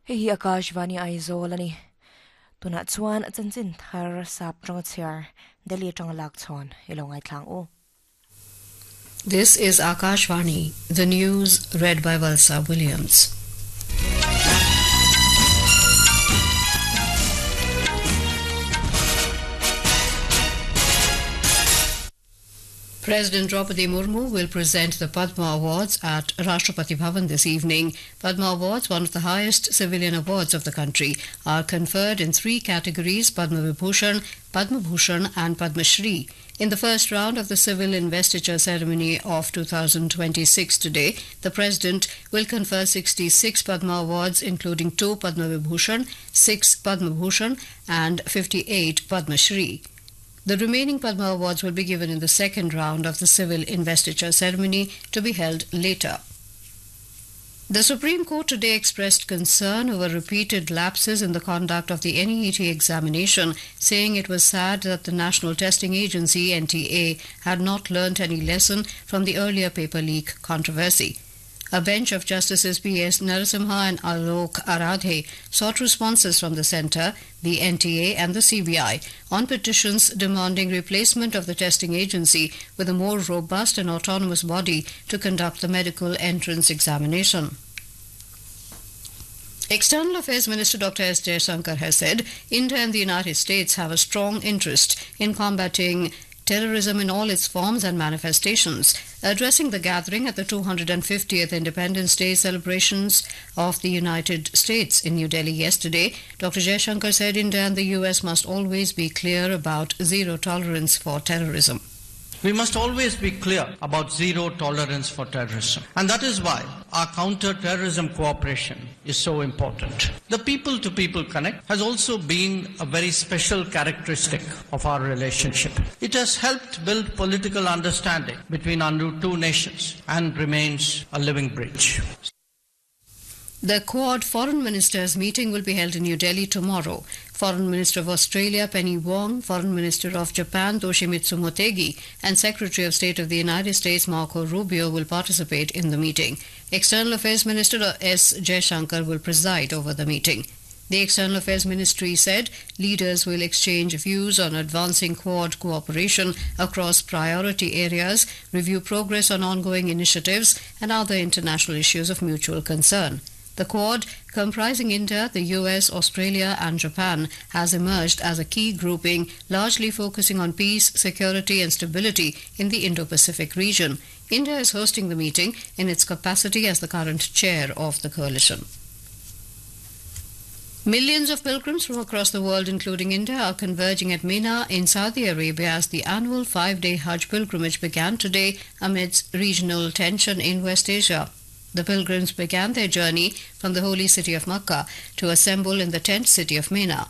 Hei hi Akashvani Aizawl a ni. Tunah chuan chanchin thar sap tanga chhiar Delhi atanga lak chhawn i lo ngaithlang u. This is Akashvani, the news read by Valsa Williams. President Draupadi Murmu will present the Padma Awards at Rashtrapati Bhavan this evening. Padma Awards, one of the highest civilian awards of the country, are conferred in three categories Padma Vibhushan, Padma Bhushan, and Padma Shri. In the first round of the civil investiture ceremony of 2026 today, the President will confer 66 Padma Awards, including 2 Padma Vibhushan, 6 Padma Bhushan, and 58 Padma Shri. The remaining Padma Awards will be given in the second round of the civil investiture ceremony to be held later. The Supreme Court today expressed concern over repeated lapses in the conduct of the NEET examination, saying it was sad that the National Testing Agency NTA had not learnt any lesson from the earlier paper leak controversy. A bench of Justices P.S. Narasimha and Alok Aradhe sought responses from the centre, the NTA, and the CBI on petitions demanding replacement of the testing agency with a more robust and autonomous body to conduct the medical entrance examination. External Affairs Minister Dr. S. Jaishankar has said India and the United States have a strong interest in combating terrorism in all its forms and manifestations. Addressing the gathering at the 250th Independence Day celebrations of the United States in New Delhi yesterday, Dr. Jaishankar said India and the US must always be clear about zero tolerance for terrorism. We must always be clear about zero tolerance for terrorism. And that is why our counter-terrorism cooperation is so important. The people-to-people connect has also been a very special characteristic of our relationship. It has helped build political understanding between our two nations and remains a living bridge. The Quad Foreign Ministers meeting will be held in New Delhi tomorrow. Foreign Minister of Australia Penny Wong, Foreign Minister of Japan Toshimitsu Motegi, and Secretary of State of the United States Marco Rubio will participate in the meeting. External Affairs Minister S. Jaishankar will preside over the meeting. The External Affairs Ministry said leaders will exchange views on advancing Quad cooperation across priority areas, review progress on ongoing initiatives, and other international issues of mutual concern. The Quad, comprising India, the US, Australia, and Japan, has emerged as a key grouping, largely focusing on peace, security, and stability in the Indo Pacific region. India is hosting the meeting in its capacity as the current chair of the coalition. Millions of pilgrims from across the world, including India, are converging at Mina in Saudi Arabia as the annual five day Hajj pilgrimage began today amidst regional tension in West Asia. The pilgrims began their journey from the holy city of Makkah to assemble in the tent city of Mina.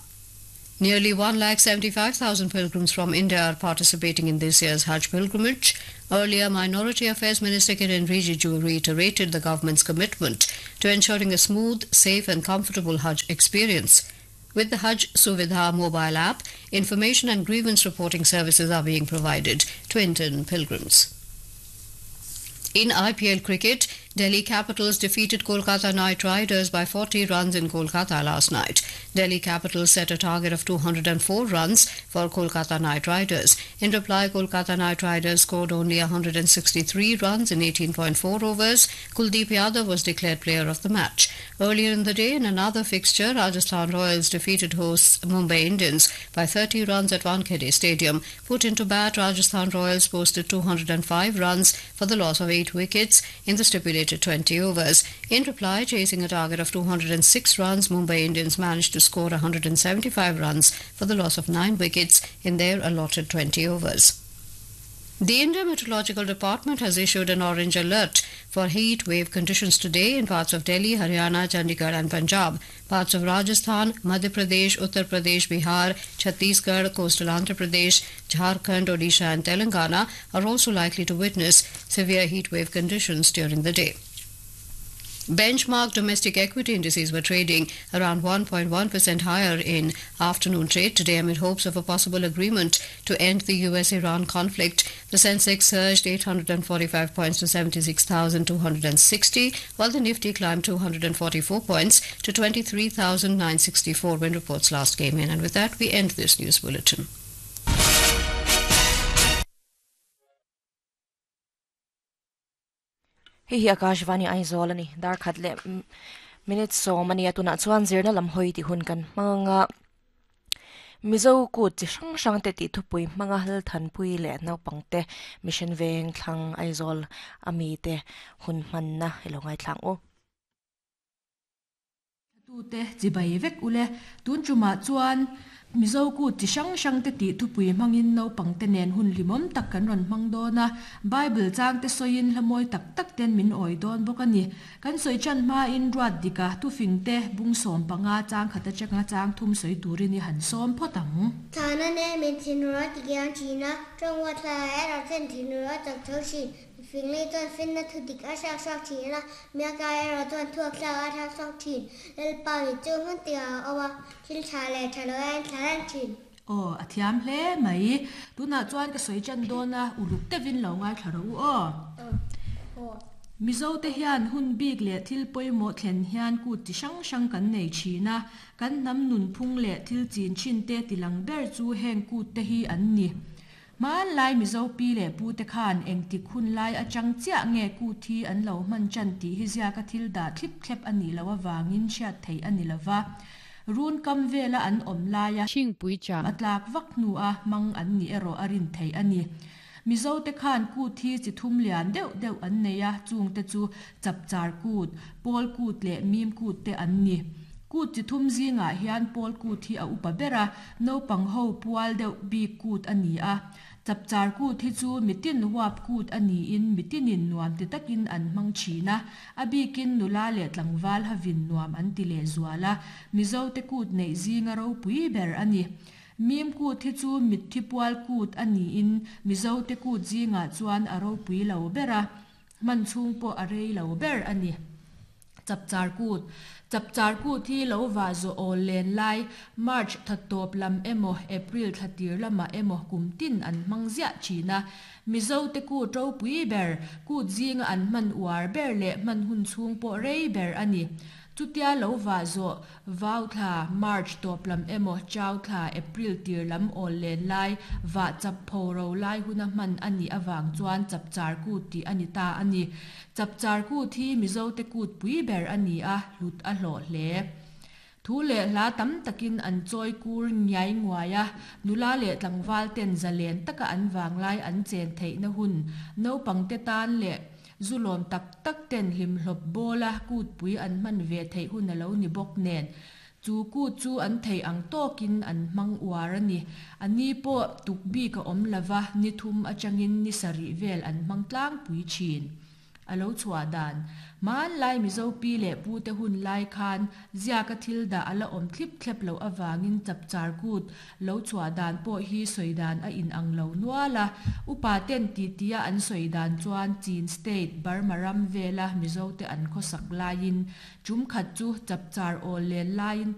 Nearly 1,75,000 pilgrims from India are participating in this year's Hajj pilgrimage. Earlier, Minority Affairs Minister Kiran Rijiju reiterated the government's commitment to ensuring a smooth, safe and comfortable Hajj experience. With the Hajj Suvidha mobile app, information and grievance reporting services are being provided to Indian pilgrims. In IPL cricket, Delhi Capitals defeated Kolkata Knight Riders by 40 runs in Kolkata last night. Delhi Capitals set a target of 204 runs for Kolkata Knight Riders. In reply, Kolkata Knight Riders scored only 163 runs in 18.4 overs. Kuldeep Yadav was declared player of the match. Earlier in the day, in another fixture, Rajasthan Royals defeated hosts Mumbai Indians by 30 runs at Wankhede Stadium. Put into bat, Rajasthan Royals posted 205 runs for the loss of 8 wickets in the stipulated 20 overs. In reply, chasing a target of 206 runs, Mumbai Indians managed to score 175 runs for the loss of 9 wickets in their allotted 20 overs. The India Meteorological Department has issued an orange alert for heat wave conditions today in parts of Delhi, Haryana, Chandigarh and Punjab. Parts of Rajasthan, Madhya Pradesh, Uttar Pradesh, Bihar, Chhattisgarh, coastal Andhra Pradesh, Jharkhand, Odisha and Telangana are also likely to witness severe heat wave conditions during the day. Benchmark domestic equity indices were trading around 1.1% higher in afternoon trade today amid hopes of a possible agreement to end the US-Iran conflict. The Sensex surged 845 points to 76,260, while the Nifty climbed 244 points to 23,964 when reports last came in. And with that, we end this news bulletin. Hei hi Akashvani Aizawl ani dar khat leh minute sawm ania tunah chuan zirna lam hawi tih hun kan hmang a Mizo kut chi hrang hrang te tih thupui hmanga Lalthanpui leh naupang te Mission Veng thlang Aizawl ami te hun hmanna i lo ngaithla ang u. Tute chibai vek ule. Tun tumah chuan Mizo kut chi hrang hrang te tih thupui hmangin naupang te nen hun hlimawm tak kan rawn hmang dawn a, Bible chang te sawiin hla mawi tak tak ten min awi dawn bawk a ni. Kan sawi chan hmain ruat dika thufing te bung 15 chang khat atanga chang thum sawi turin i han sawm phawt ang. Thana ne min thinur a tikiang thin a, tawng huat thla erawh chuan thinur a chak tho thin. Mifing lei chuan finna thu dik a hriak hriak thin a, miaka erawh chuan thuak thlak a hriak hriak thin. Lalpa mit chu hmun tikah a awm a, thil tha leh tha lo a en thla reng thin. Aw, a thiam hle mai. Tunah chuan ka sawi tan dawn a, uluk deuhin lo ngaithla rawh u aw. Mizote hian hun bik leh thil pawimawh thlen hian kut chi hrang hrang kan nei thin a, kan hnam nunphung leh thil chin thinte tilang ber chu heng kutte hi an ni. Hmanlai Mizo pi leh pute khan engtik hun lai atang chiah nge kut hi an lo hman tan tih hi ziaka thil dah thlip thlep a nih loh avangin hriat theih a ni lova. Run kam vela an awm laia a tlak vak hnua hmang an nih erawh a rin theih a ni. Mizote khan kut hi chi thum lian deuh deuh an nei a, chungte chu Chapchar kut, Pawl kut leh Mim kut te an ni. Kut chi thum zingah hian Pawl kut hi a upa ber a, naupang ho pual deuh bik kut a ni a. Chapchar kut hi chu mitin huap kut a niin mitinin nuam ti takin an hmang thin a, a bikin nula leh tlangval havin nuam an ti lehzual a, Mizote kut neih zinga ropui ber a ni. Mim kut hi chu mitthi pual kut a niin Mizote kut zingah chuan a ropui lo ber a, hman chhung pawh a rei lo ber a ni. Chapchar kut, Chapchar kut hi lo vah zawh awl len lai, March thla tawp lam emaw April thla tir lamah emaw kum tin an hmang ziah thin a. Mizote kut ropui ber, kut zinga an hman uar ber leh hman hun chhung pawh rei ber a ni. Chutia lo vah zawh, Vau thla, March tawp lam emaw Chau thla, April tir lam awl len lai, vah chap pho ro lai huna hman a nih avang chuan Chapchar kut tih a ni ta a ni. Chapchar kut hi Mizote kut pui ber a ni a, hlut a hlawh hle. Thu leh hla tam takin an chawi kur ngiai nguai a, nula leh tlangval ten zalen taka an vanglai an chen theihna hun naupangte tan leh zu lawm tak tak ten hlimhlawp bawla kutpui an hman ve theih hun a lo ni bawk nen, chu kut chu an theih ang tawkin an hmang uar a ni. A ni pawh tuk bik a awm lova, ni thum atangin ni sarih vel an hmang tlangpui thin. A lo chhuah dan. Hmanlai Mizo pi leh pute hun lai khan ziaka thil dah a la awm thlip thlep loh avangin chapchar kut lo chhuah dan pawh hi sawi dan a inang lo nual a. Upa ten titia an sawi dan chuan Chin State, Burma ram vela Mizote an khawsak laiin tum khat chu chapchar awl len laiin.